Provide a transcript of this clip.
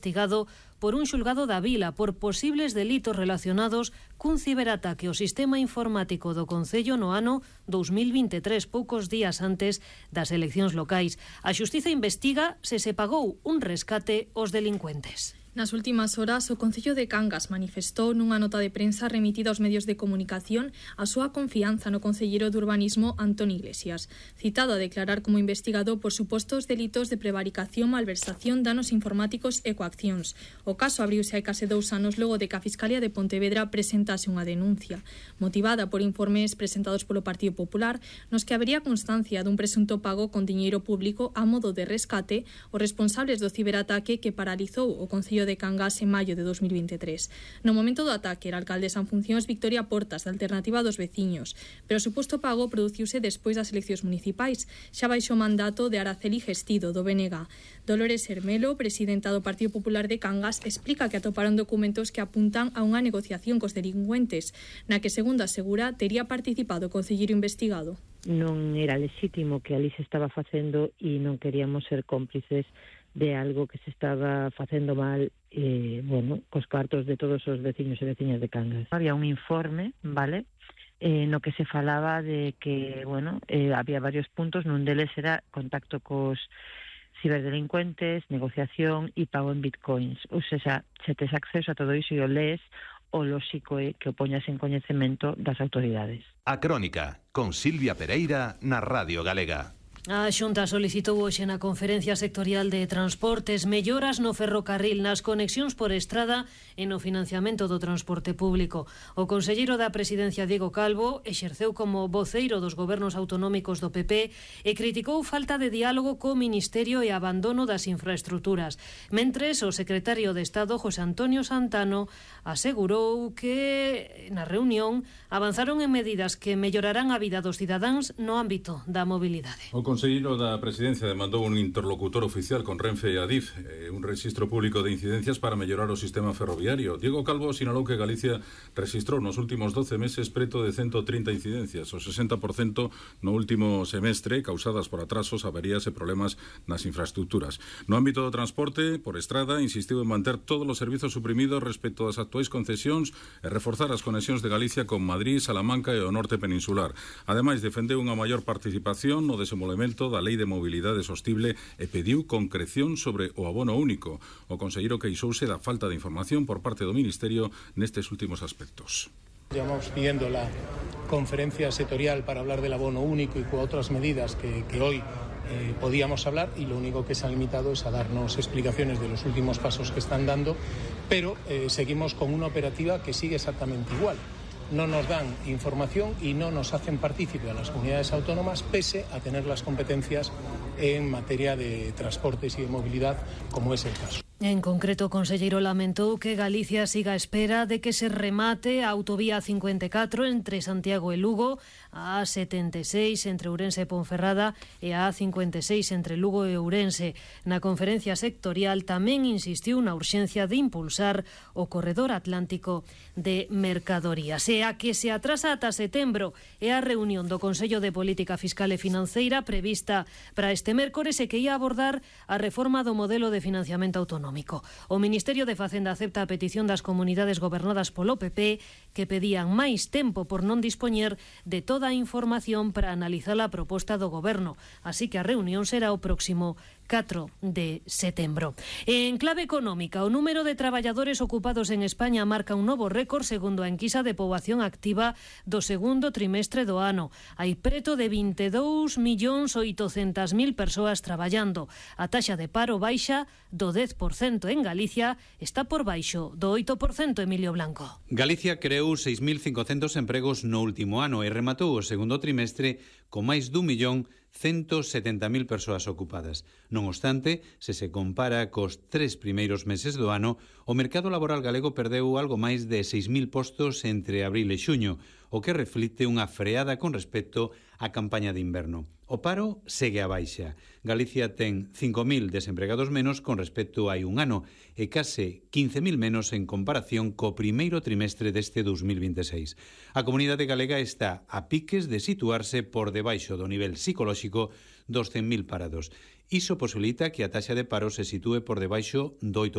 investigado por un xulgado da Vila por posibles delitos relacionados cun ciberataque ao sistema informático do Concello no ano 2023, poucos días antes das eleccións locais. A Xustiza investiga se pagou un rescate aos delincuentes. Nas últimas horas, o Concello de Cangas manifestou nunha nota de prensa remitida aos medios de comunicación a súa confianza no concelleiro de Urbanismo Antón Iglesias, citado a declarar como investigado por supostos delitos de prevaricación, malversación, danos informáticos e coaccións. O caso abriuse hai case 2 anos logo de que a Fiscalía de Pontevedra presentase unha denuncia, motivada por informes presentados polo Partido Popular, nos que habería constancia dun presunto pago con diñeiro público a modo de rescate aos responsables do ciberataque que paralizou o Concello de Cangas en maio de 2023. No momento do ataque, era alcaldesa en funcións Victoria Portas, da Alternativa dos Veciños, pero o suposto pago produciuse despois das eleccións municipais, xa baixo o mandato de Araceli Gestido, do BNG. Dolores Hermelo, presidenta do Partido Popular de Cangas, explica que atoparon documentos que apuntan a unha negociación cos delincuentes, na que, segundo asegura, tería participado o concelleiro investigado. Non era lexítimo que ali se estaba facendo e non queríamos ser cómplices de algo que se estaba facendo mal, cos cartos de todos os veciños e veciñas de Cangas. Había un informe, vale, no que se falaba de que, había varios puntos, nun deles era contacto cos ciberdelincuentes, negociación e pago en bitcoins. Ou seja, se tes acceso a todo iso e o lees, o lóxico é que o poñas en coñecemento das autoridades. A Crónica, con Silvia Pereira, na Radio Galega. A Xunta solicitou hoxe na Conferencia Sectorial de Transportes melloras no ferrocarril, nas conexións por estrada e no financiamento do transporte público. O conselleiro da Presidencia, Diego Calvo, exerceu como voceiro dos gobernos autonómicos do PP e criticou falta de diálogo co Ministerio e abandono das infraestructuras. Mentres, o secretario de Estado, José Antonio Santano, asegurou que na reunión avanzaron en medidas que mellorarán a vida dos cidadáns no ámbito da mobilidade. O conselleiro da Presidencia demandou un interlocutor oficial con Renfe e Adif, un rexistro público de incidencias para mellorar o sistema ferroviario. Diego Calvo sinalou que Galicia registrou nos últimos 12 meses preto de 130 incidencias, o 60% no último semestre, causadas por atrasos, averías e problemas nas infraestructuras. No ámbito do transporte, por estrada, insistiu en manter todos os servizos suprimidos respecto das actuais concesións e reforzar as conexións de Galicia con Madrid, Salamanca e o norte peninsular. Ademais, defendeu unha maior participación no desenvolvemento da Lei de Mobilidade Sostible e pediu concreción sobre o abono único. O conselleiro queixouse da falta de información por parte do Ministerio nestes últimos aspectos. Llevamos pidiendo la conferencia sectorial para hablar del abono único y con otras medidas que hoy podíamos hablar, y lo único que se ha limitado es a darnos explicaciones de los últimos pasos que están dando, pero seguimos con una operativa que sigue exactamente igual. No nos dan información y no nos hacen partícipe a las comunidades autónomas, pese a tener las competencias en materia de transportes y de movilidad, como es el caso. En concreto, o conselleiro lamentou que Galicia siga a espera de que se remate a autovía 54 entre Santiago e Lugo, a A76 entre Ourense e Ponferrada e a A56 entre Lugo e Ourense. Na conferencia sectorial tamén insistiu na urxencia de impulsar o corredor atlántico de mercadorías. E a que se atrasa ata setembro é a reunión do Consello de Política Fiscal e Financeira prevista para este mércores e que ia abordar a reforma do modelo de financiamento autonómico. O Ministerio de Facenda acepta a petición das comunidades gobernadas polo PP que pedían máis tempo por non dispoñer de toda a información para analizar a proposta do Goberno. Así que a reunión será o próximo 4 de setembro. En clave económica, o número de traballadores ocupados en España marca un novo récord segundo a enquisa de poboación activa do segundo trimestre do ano. Hai preto de 22.800.000 persoas traballando. A taxa de paro baixa do 10% en Galicia, está por baixo do 8%, Emilio Blanco. Galicia creou 6.500 empregos no último ano e rematou o segundo trimestre con máis d'1.170.000 persoas ocupadas. Non obstante, se compara cos 3 primeiros meses do ano, o mercado laboral galego perdeu algo máis de 6.000 postos entre abril e xuño, o que reflicte unha freada con respecto á campaña de inverno. O paro segue a baixa. Galicia ten 5.000 desempregados menos con respecto a hai un ano e case 15.000 menos en comparación co primeiro trimestre deste 2026. A comunidade galega está a piques de situarse por debaixo do nivel psicolóxico dos 100.000 parados. Iso posibilita que a taxa de paro se sitúe por debaixo do 8%.